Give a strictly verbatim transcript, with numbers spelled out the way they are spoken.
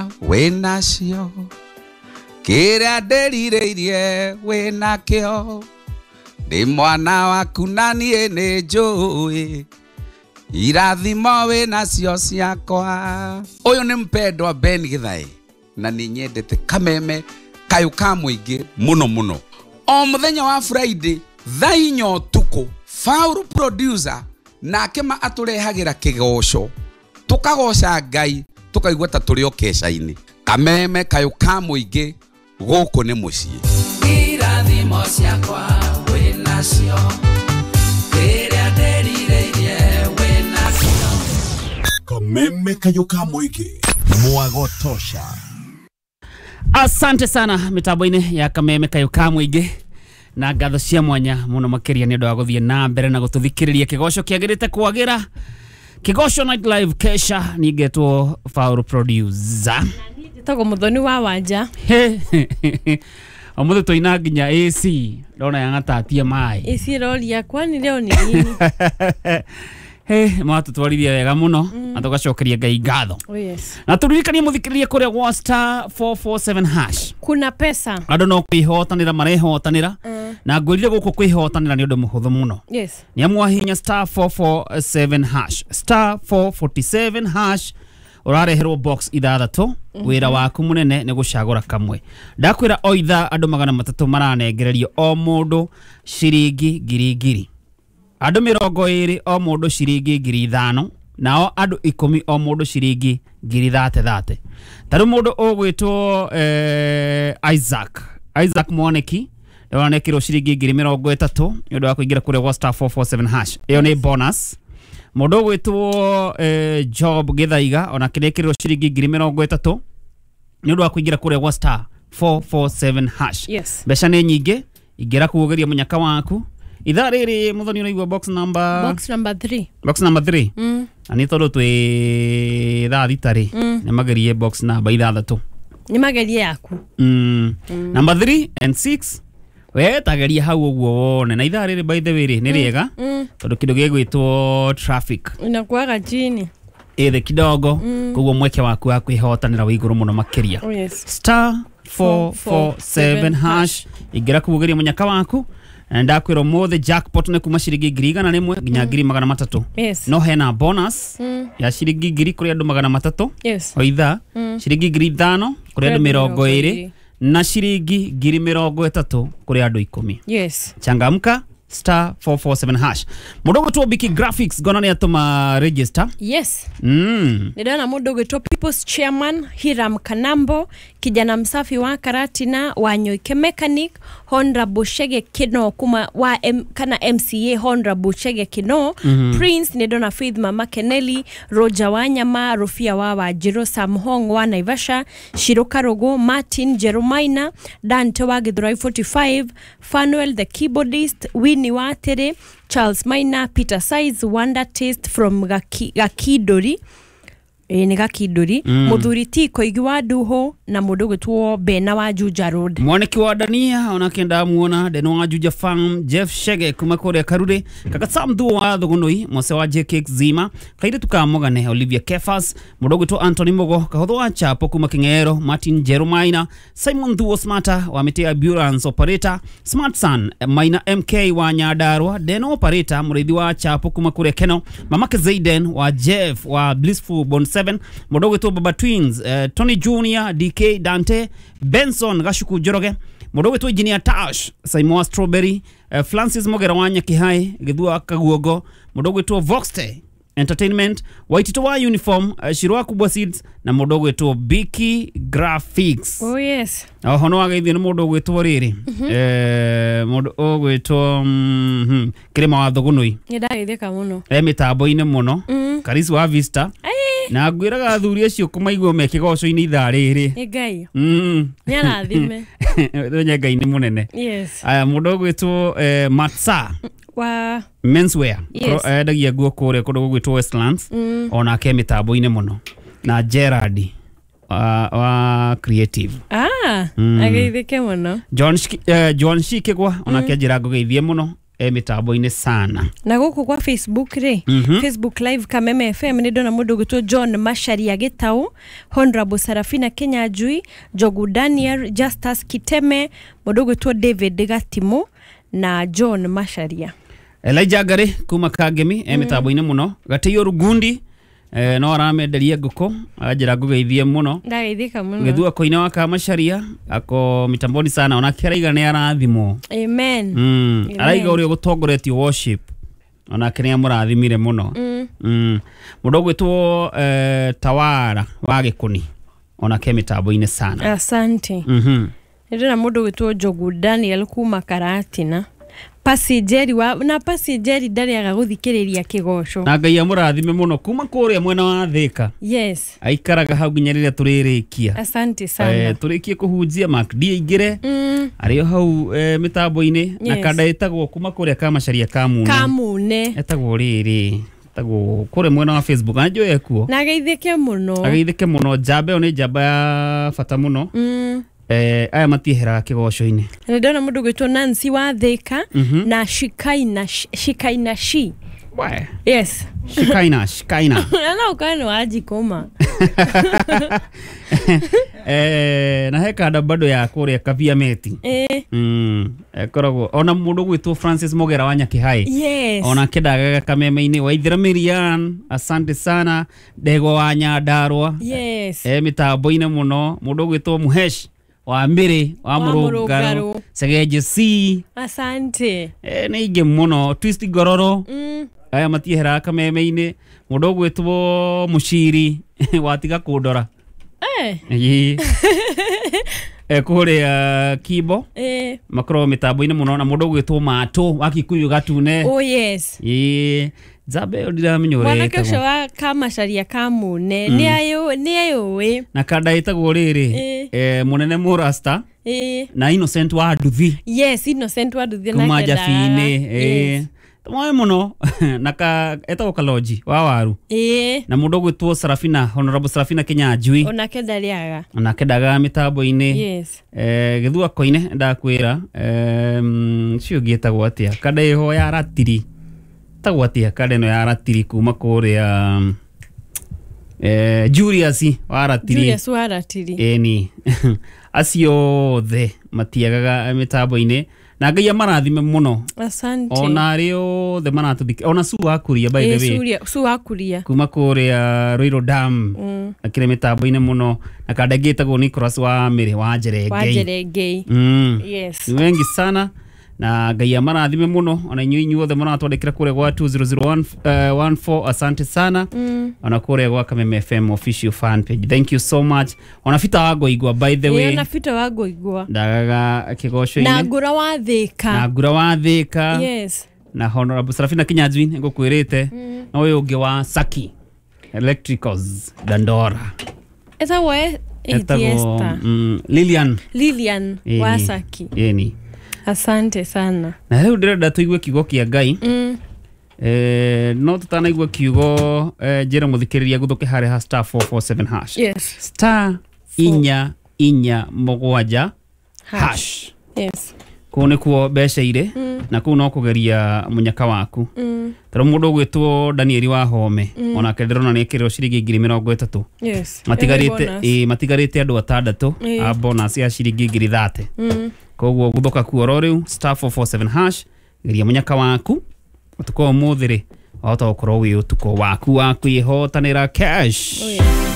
Ciakwa wĩnacio, kĩrĩa ndĩrirĩirie wĩnakĩo, ndĩ mwana waku na niĩ nĩ njũĩ irathimo wĩnacio ciakwa. Ũyũ nĩ mpendwa Ben Githae na nĩ nyendete Kameme Kayũ ka Mũingĩ mũno mũno. O mũthenya wa Friday thaa inya ũtukũ, Faulu producer nake ma atũrehagĩra kĩgoco, tũkagoca Ngai tukaigua ta tũrĩ o keca-inĩ. Kameme Kayũ ka Mũingĩ, gũkũ nĩ mũciĩ. Irathimo ciakwa wĩnacio, kĩrĩa ndĩrirĩirie wĩnakĩo. Kameme Kayũ ka Mũingĩ, mwagotosha. Asante sana mitambo-inĩ ya Kameme Kayũ ka Mũingĩ na ngatho cia mwanya mũno makĩria nĩ ũndũ wa gũthiĩ na mbere na gũtũthikĩrĩria kĩgoco kĩagĩrĩte kwagĩra. Kĩgoco Night Live kesha ningetwo Faulu producer. Njĩtagwo Muthoni wa Wanja. Ũmũthĩ tũina nginya A C ndona yang'atatia maĩ. A C ĩroria kwani leo ni nini? He, mwatũtwarithia wega mũno na tũgacokeria Ngai ngatho. Oh yes. Na tũririkanie mũthikĩrĩrie kũrĩa gwa star four four seven hash. Kuna pesa. Andũ no kwĩhotanĩra marehotanĩra. Na ngwĩrire gũkũ kwĩhotanĩra nĩ ũndũ mũhũthũ mũno. Yes. Nĩ amu wahihinya star four four seven hash. Star four forty-seven hash ũrareherwo box ithathatũ. Wĩra waku mũnene nĩ gũcagũra kamwe. Ndakwĩra o ithaa andũ magana matatũ maranengererio o mũndũ ciringi ngiri ngiri. Andũ mĩrongo ĩrĩ o mũndũ ciringi ngiri ithano, nao andũ ikũmi o mũndũ ciringi ngiri thate thate. Ta rĩu mũndũ ũgwĩtwo eh, Isaac Isaac Mwaniki nĩwanekĩrwo ciringi ngiri mĩrongo ĩtatũ nĩ ũndũ wa kũingĩra kũrĩa gwa star four four seven hash. Ĩyo nĩ bonus. Mũndũ ũgwĩtwo eh, Job Gĩthaiga onake nĩekĩrirwo ciringi ngiri mĩrongo ĩtatũ nĩ ũndũ wa kũingĩra kũrĩa gwa star four four seven hash. Yes. Mbeca nĩ nyingĩ, ingĩra kuogeria mũnyaka waku. Ithaa rĩrĩ Muthoni ũraigua box number box number three. Box number three. Mm. Na nĩ tondũ twĩ thaa thita rĩ, nĩ magerie box number ithathatũ. Nĩ magerie yaku. Mm. Mm. Number three and six. We tageria hau ũguo wone. Na ithaa rĩrĩ by the way rĩ nĩ rĩega tondũ kĩndũ gĩgwĩtwo traffic inakuaga chini ĩthĩ kidogo, koguo mweke waku wa kwĩhotanĩra wĩ igũrũ mũno makĩria. Oh yes. Star four four seven hash ingĩra kuogeria mũnyaka waku. Na ndakwĩra ũmũthĩ jackpot nĩ kuma ciringi ngiri igana rĩmwe nginya ngiri magana matatũ. Yes. No hena bonus ya ciringi ngiri kũrĩ andũ magana matatũ. Yes. O ithaa ciringi ngiri ithano kũrĩ andũ mĩrongo ĩrĩ na ciringi ngiri mĩrongo ĩtatũ kũrĩ andũ ikũmi. Yes. Changamka star four four seven hash. Mũndũ ũgwĩtwo Biki Graphics ngona nĩ atũma register. Yes. Mm. Nĩndona mũndũ ũgwĩtwo People's Chairman Hiram Kanambo, kijana msafi wa Karatina wa Nyoike Mechanic, Honorable Shege Kino kuma wa M, kana M C A Honorable Shege Kino, mm -hmm. Prince nĩndona Faith Mama Keneli, Roger Wanyama, Rofia wa Wajiro, Sam Hong wa Naivasha, Shiro Karogo, Martin Jeromaina, Dante wa Githurai forty-five, Fanuel the keyboardist, Winnie Watere, Charles Maina, Peter Size, Wonder Taste from Gaki, Gakidori. E, nĩ Gakidori. Mm. Mũthuri T Koigi wa Nduho na mũndũ ũgwĩtwo Bena wa Juja Road. Mwaniki wa Dania onake ndamuona Deno wa Juja Farm, Jeff Shege kuma kũrĩa Karure, Kaka Sam Thuo wa Thugunui, Mose wa J K Zima, Kairĩtu ka Mũgane Olivia Kefas, mũndũ ũgwĩtwo Anthony Mugo, Kahũthũ wa Chapo kuma King'ero, Martin Jeromaina, Simon Thuo Smarter wa Mĩtĩ Ambulance Operator, Smart Son Maina M K wa Nyandarua, Deno Operator mũrĩithi wa Chapo kuma kũrĩa Keno, Mamake Zaiden wa Jeff wa Blissful Bond seven, mũndũ ũgwĩtwo Baba Twins, uh, Tony Junior, D K Dante, Benson Gashuku Njoroge, mũndũ ũgwĩtwo Engineer Tash, Simon Strawberry, uh, Francis Mogera wa Nyakihai, Gĩthua Kaguogo, mũndũ ũgwĩtwo Voxte Entertainment, Waitito wa Uniform, uh, Shirwa Kubwa Seeds na mũndũ ũgwĩtwo Biki Graphics. Oh yes. Oho no wageithio nĩ mũndũ ũgwĩtwo rĩrĩ, eh mũndũ ũgwĩtwo mm, Kĩrĩma wa Thugunui. Nĩ ndageithĩka mũno. E mĩtambo-inĩ mũno. Karisi wa Vista. Na ngwĩraga athuri acio kũmaigua me kĩgoco-inĩ ithaa rĩrĩ. Nĩ Ngai. Mm. Nĩ arathime. Nĩ Ngai nĩ mũnene. Yes. Aya mũndũ ũgwĩtwo eh, Matsa wa menswear. Yes. Endagia nguo kũrĩa kũndũ gũgwĩtwo Westlands. Mm. Onake mĩtambo-inĩ mũno. Na Gerard wa, wa creative. Ah, Mm. ageithĩke mũno. John Shiki, eh, John Shikigwa onake njĩra ngũgeithie mũno. e mitambo-inĩ sana. Na gũkũ kwa Facebook rĩ, mm -hmm. Facebook Live Kameme F M nĩ ndona mũndũ ũgwĩtwo John Macharia Gĩtaũ, Honorable Sarafina Kinyanjui, Njogu Daniel, Justus Kiteme, mũndũ ũgwĩtwo David Gatimu na John Macharia. Elijah Ngari kuma Kangemi e mitambo-inĩ mũno. Gatĩio Rugundi eh, no aramenderia ngũkũ anjĩra ngũgeithie mũno. Ndageithĩka mũno. Gĩthua koine wa Kamacharia ako mitamboni sana onake araiga nĩ arathimwo. Amen. Mm. Amen. Araiga ũrĩa ũgũtongoretie worship onake nĩ amũrathimire mũno. Mm. Mm. Mũndũ ũgwĩtwo eh, Tawara wa Gĩkũni onake mitambo-inĩ sana. Asante. Mhm. Nĩ ndĩrona mũndũ ũgwĩtwo Njogu Daniel kuma Karatina. Pasi Jerry wa na Pasi Jerry ndarĩaga gũthikĩrĩria kĩgoco. Na Ngai amũrathime mũno kuma kũrĩa mwena wa Thĩka. Yes. Aikaraga hau nginya rĩrĩa tũrĩrĩkia. Asante sana. Eh, tũrĩkie kũhunjia Mark D aingĩre. Mm. Arĩ o hau eh, mĩtambo-inĩ na Yes. kanda ĩtagwo kuma kũrĩa Kamacharia Kamune. Kamune. Etagwo rĩrĩ etagwo kũrĩa mwena wa Facebook na njũĩ ekuo. Na ageithĩke mũno. Ageithĩke mũno. Njamba ĩyo nĩ njamba ya bata mũno. Mm. Eh, aya matieheraga kĩgoco-inĩ. Nĩ ndona mũndũ ũgwĩtwo Nancy wa Thĩka mm -hmm. na Shikaina Shikaina shi. We. Yes. Shikaina Shikaina. Na no ũkorwo nĩ wa Njikũma. Eh, na he kanda bado ya kũrĩa Kavia Meti. Eh. Mm, ekoragwo ona mũndũ ũgwĩtwo Francis Mogera wa Nyakĩhai. Yes. Ona kendagaga kameme-inĩ Waithera Mirian, asante sana. Ndegwa wa Nyandarua. Yes. Eh, mitambo-inĩ mũno mũndũ ũgwĩtwo Muhesh wa Mbĩrĩ wa Wa Mũrũngarũ Mũrũngarũ. Segeje C. Asante. Eh, nĩ ingĩ mũno Twist Ngororo. Mm. Aya matieheraga kameme-inĩ mũndũ ũgwĩtwo Mũciri watiga kũndora. Eh. Ĩĩ. Eh, kũrĩa Kimbo Eh. makoragwo mĩtambo-inĩ mũno na mũndũ ũgwĩtwo Matũ wa Kikuyu Gatune. Oh yes. Ĩĩ njamba ĩyo ndiramenya ũrĩa Mwanake ũcio ĩtagwo. wa Kamacharia Kamune nĩ ayũ nĩ ayũĩ. Na kanda ĩtagwo rĩrĩ Ĩĩ. eh, mũnene Mũrasta Eh. na Innocent wa Nduthi Yes, Innocent wa Nduthi kuma nake Njabi-inĩ. ndagaga. Ĩĩ Yes. tũmoe mũno na ka etagwo Kalonji wa Waru Ĩĩ. na mũndũ ũgwĩtwo Sarafina Honorable Sarafina Kinyanjui Onake ndarĩaga. onake ndagaga mĩtambo-inĩ. Yes. Eh, Gĩthua Koine ndakwĩra em, ũcio ũngĩ ĩtagwo atĩa kanda ĩho ya ratiri ĩtagwo atĩa kanda ĩno ya ratiri kuma kũrĩa eh, Julius wa ratiri. Julius wa Ratiri. Ĩni acio othe matiagaga mĩtambo-inĩ na Ngai amarathime mũno. Asante. Ona arĩa othe maratũthikĩrĩria ona Su wa Kuria by the Ĩĩ, way Suria- Su wa Kuria. kuma kũrĩa Ruiru Dam Mm. akĩrĩ mĩtambo-inĩ mũno na kanda ĩngĩ ĩtagwo Nicholas wa Mĩrĩ wa Wa Njerengei. Njerengei. Mm. Yes. Ni wengi sana na Ngai amarathime mũno ona inyuĩ inyuothe mũratwandĩkĩra kũrĩa gwa two zero zero one four asante sana. Mm. Ona kũrĩa gwa Kameme F M official fan page, thank you so much. Ona Fita wa Ngoigwa by the Ĩĩ, way ona Fita wa Ngoigwa ndagaga kĩgoco-inĩ na Ngũra wa Thĩka. na Ngũra wa Thĩka. Yes. Na Honorable Sarafina Kinyanjui nĩngũkwĩrĩte na ũyũ ũngĩ wa Saki Electricals Dandora Etagwo e- Etagwo, Esther. mm, Lilian Lilian wa Ĩni. Saki. Ĩni. Asante sana. Na rĩu ndĩrenda tũigue kiugo kĩa Ngai. Mm. Eh, no tũtanaigua kiugo eh, njĩra mũthikĩrĩria gũthũke harĩa ha star four four seven hash. Yes. Star inya inya mũgwanja hash. Yes. Kũu nĩkuo mbeca irĩ na kũu no kũgeria mũnyaka waku. Mm. Tondũ mũndũ ũgwĩtwo Danieli wa Home onake ndĩrona nĩ ekĩrĩrwo ciringi ngiri mĩrongo ĩtatũ. Yes. Matigarĩte Ĩyo nĩ bonus. ĩĩ matigarĩte andũ atandatũ Ĩĩ. a bonus ya ciringi ngiri thate. Mm. Koguo gũthũka kuo oro rĩu star four four seven hash geria mũnyaka waku ũtukũ wa ũmũthĩ rĩ wahota gũkorwo wĩ ũtukũ waku wa kwĩhotanĩra cash. Oh, yes.